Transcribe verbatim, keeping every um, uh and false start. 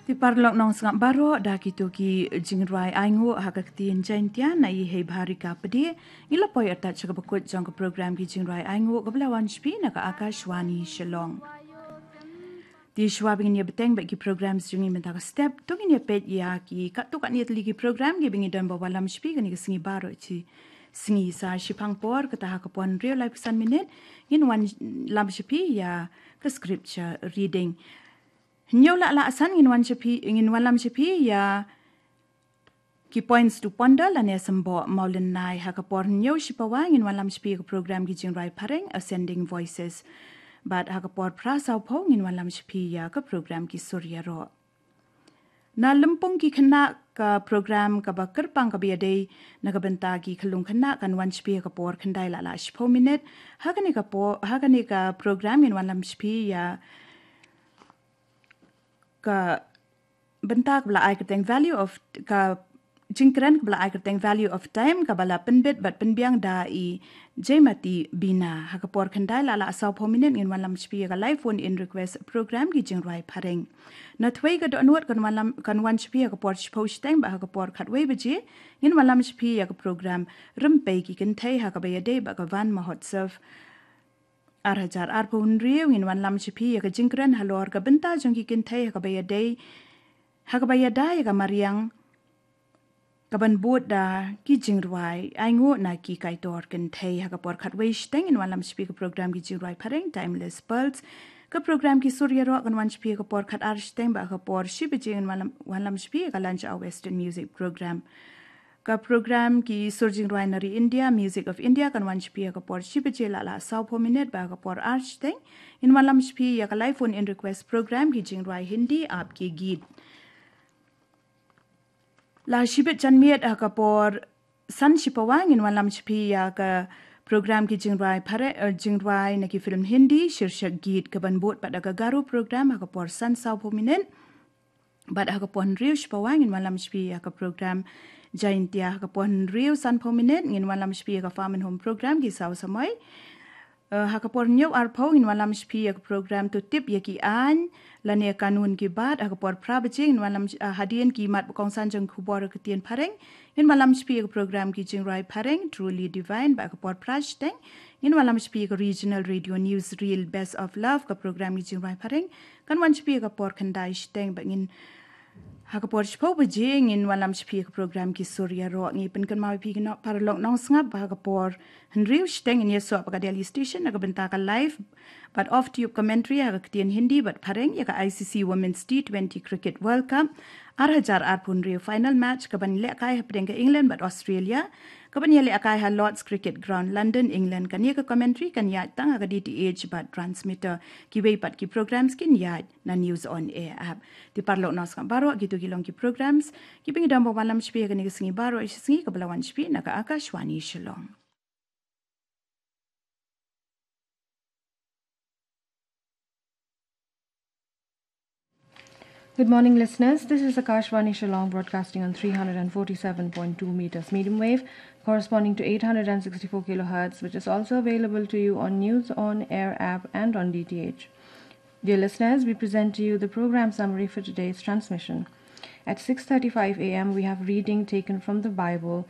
Te paralok nongsngap baroh, da kito ki jingrwai ainguh ha ka ktien Jaintia na i Hei Bharika Pde, ngi la poi artat sha kaba kut jong ka program ki jingrwai ainguh kaba la wan sha phi na ka Akashvani Shillong. Te shuwa ba ngin ïa bteng bad ki program jong ngi mynta ka step, to ngin ïa peit ïa ki katto katne tylli ki program kiba ngi don ban wallam sha phi kane ka sngi baroh shi sngi. Sa shiphang por, kata ha ka por hynriew laiphew san minit, ngin wallam sha phi ïa ka scripture reading. Hynñiew la la san ngin wan sha phi, ngin wallam sha phi ïa ki points to ponder lane symboh mawlynnai. Ha ka por hynñiew shipawa ngin wallam sha phi ïa ka program ki jingrwai phareng Ascending Voices. Bad ha ka por phra sawphew ngin wallam sha phi ïa ka program ki sur ïaroh. Na lympung ki khynnah, ka program kaba kyrpang kaba ïadei na ka bynta ki khyllung khynnah kan wan sha phi ha ka por khyndai la la shiphew minit. Ha kane ka por, ha kane ka program ngin wallam sha phi ïa ka bynta kaba la ai kyrteng value of, ka jingkren kaba la ai kyrteng value of time, kaba la pynbit bad pynbiang da i Jemati Bina. Ha ka por khyndai la la sawphew minit ngin wallam sha phi ïa ka live phone in request program ki jingrwai phareng. Na three ka dohnud kan wallam, kan wan sha phi ha ka por shiphew shiteng bad ha ka por khatwei baje ngin wallam sha phi ïa ka program Rympei ki Kynthei ha kaba ïadei bad ka Van Mahotsav ar hajar arphew hynriew. Ngin wallam sha phi ïa ka jingkren halor ka bynta jong ki kynthei ha kaba ïadei, ha kaba ïada ïa ka mariang kaban bud da ki jingrwai ainguh na ki kaitor kynthei. Ha ka por khatwei shiteng ngin wallam sha phi ïa ka program ki jingrwai phareng Timeless Pearls. Ka program ki sur ïaroh kan wan sha phi ha ka por khatar shiteng bad ha ka por shi baje ngin wallam, wallam sha phi ïa ka Lunch Hour Western Music Program. Ka program ki sur jingrwai na ri India, Music of India, kan wan sha phi ha ka por shi baje la la sawphew minit bad ha ka por ar shiteng ngin wallam sha phi ïa ka live phone in request program ki jingrwai Hindi Aap Ke Geet. La shibit janmiet ha ka por san shipawa ngin wallam sha phi ïa ka program ki jingrwai phare, eh, jingrwai na ki film Hindi Shirshak Geet, kaban bud pat da ka Garo program ha ka por san sawphew minit. Bad ha ka por hynriew shipawa ngin wallam sha phi ïa ka program Jaintia. Ha ka por hynriew sanphew minit ngin wallam sha phi ïa ka Farm and Home program ki saw samoi. Eh, ha ka por hynñiew arphew ngin wallam sha phi ïa ka program To Tip ïa ki Aiñ lane Kanun Ki Baat. Ha ka por phra baje ngin wallam, eh, hadien ki mat ba kongsan jong khubor ka ktien phareng, ngin wallam sha phi ïa ka program ki jingrwai phareng Truly Divine. Bad ha ka por phra shiteng ngin wallam sha phi ïa ka regional radio news reel Best of Love, ka program ki jingrwai phareng kan wan sha phi ïa ka por khyndai shiteng. Bad ngin, ha ka por shiphew baje ngin wallam sha phi ïa ka program ki sur ïaroh. Ngi pynkynmaw ïa phi ki paralok nongsngap ba ha ka por hynriew shiteng ngin ïasoh bad ka Delhi station na ka bynta ka live bad off tube commentary ha ka ktien Hindi bad phareng ïa ka I C C Women's T twenty Cricket World Cup ar hajar arphew hynriew final match kaban lehkai hapdeng ka England bad Australia, kaban ïalehkai ha Lord's Cricket Ground, London, England. Kane ka commentary kan ïaid tang ha ka D T H bad transmitter. Kiwei pat ki programs kin ïaid na News on Air app. Te paralok nongsngap baroh, kito ki long ki programs kiba ngi dang ban wallam sha phi ha kane ka sngi baroh shi sngi kaba la wan sha phi na ka Akashvani Shillong. Good morning, listeners. This is Akashvani Shillong, broadcasting on three hundred and forty-seven point two meters medium wave, corresponding to eight hundred and sixty-four kilohertz, which is also available to you on News on Air app and on D T H. Dear listeners, we present to you the program summary for today's transmission. At six thirty-five a m, we have reading taken from the Bible